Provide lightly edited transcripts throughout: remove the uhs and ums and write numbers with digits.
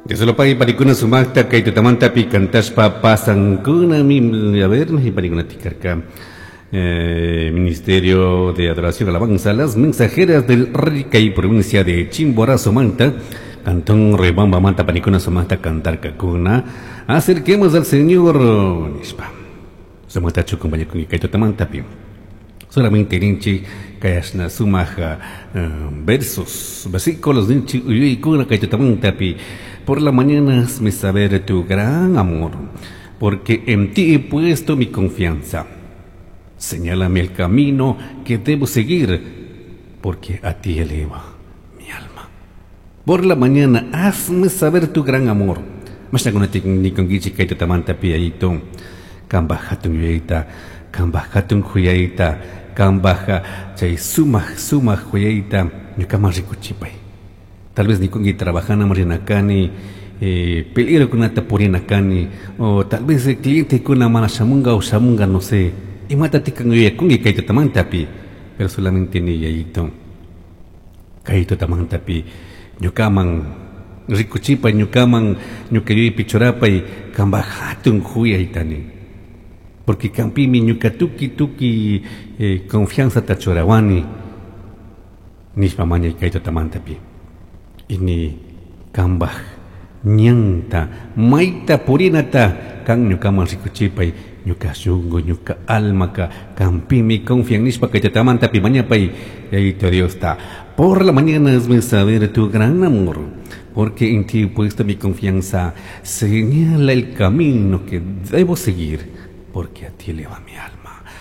Dios panikuna sumaqta kay tutamantapi kantashpa pasankunami, a ver, panikuna tikarka. Ministerio de Adoración Alabanza, las mensajeras del Rica y provincia de Chimborazo Manta, Cantón Riobamba Manta, panikuna sumaqta cantarkakuna. Acerquemos al Señor, nishpa. Sumaqta chukumpañakun kay tutamantapi. Solamente ninchik kayashna sumaq versos, versículos ninchik uyuykuna kay tutamantapi. Por la mañana hazme saber tu gran amor, porque en ti he puesto mi confianza. Señálame el camino que debo seguir, porque a ti eleva mi alma. Por la mañana hazme saber tu gran amor. Mashnakunatik nikunkichik kay tutamantapi ayito, kambaj hatun yuyayta, kambaj hatun huyayta, kambaj chay sumaq sumaq huyayta ñukaman rikuchipay. Tal vez nikunki trabajana rinakani, peligrokunata purinakani, o tal vez clientekuna mana shamunga o shamunga, no sé. Imata tikan yuyakunki kay tutamantapi, pero solamente ni yayito. Kay tutamantapi ñukaman rikuchipay, ñukaman ñuka yuyaypi churapay, kambaj hatun huyaytani. Porque kampimi ñuka tuki tuki confianza ta churawani, nishpa mañay kay tutamantapi. Ini kambaj ñanta mayta purinata kan ñukaman rikuchipay, ñuka shunku, ñuka almaka kampimi confian nishpa kay tutamantapi mañapay, yayito Diosta. Por la mañana hazme saber tu gran amor, porque en ti he puesto mi confianza. Señala el camino que debo seguir, porque a ti eleva mi alma.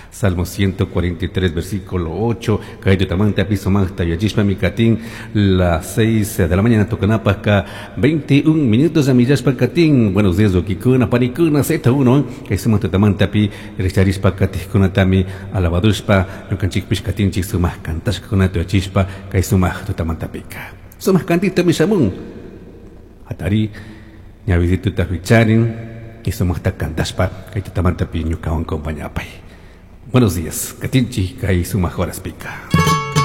Salmo 143, versículo 8. Kay tutamanta piso magta yachishpa mi katin, las 6 de la mañana tocanapasca, 21 minutos a millashpa katin. Buenos días, dokikuna, panikuna, Z1. Kay suma tutamanta pi, richarishpa katijkuna tami, alabadushpa, ñukanchikpish katinchik sumaj kantashkuna tuyachishpa, kay sumaj tutamanta pika. Sumaj kantita mi shamun. Atari, ñavisituta huicharin, y sumajta kantashpa, kay tutamanta pi ñukawan compañapay. Buenos días, katinchi, kay sumaj horas pika.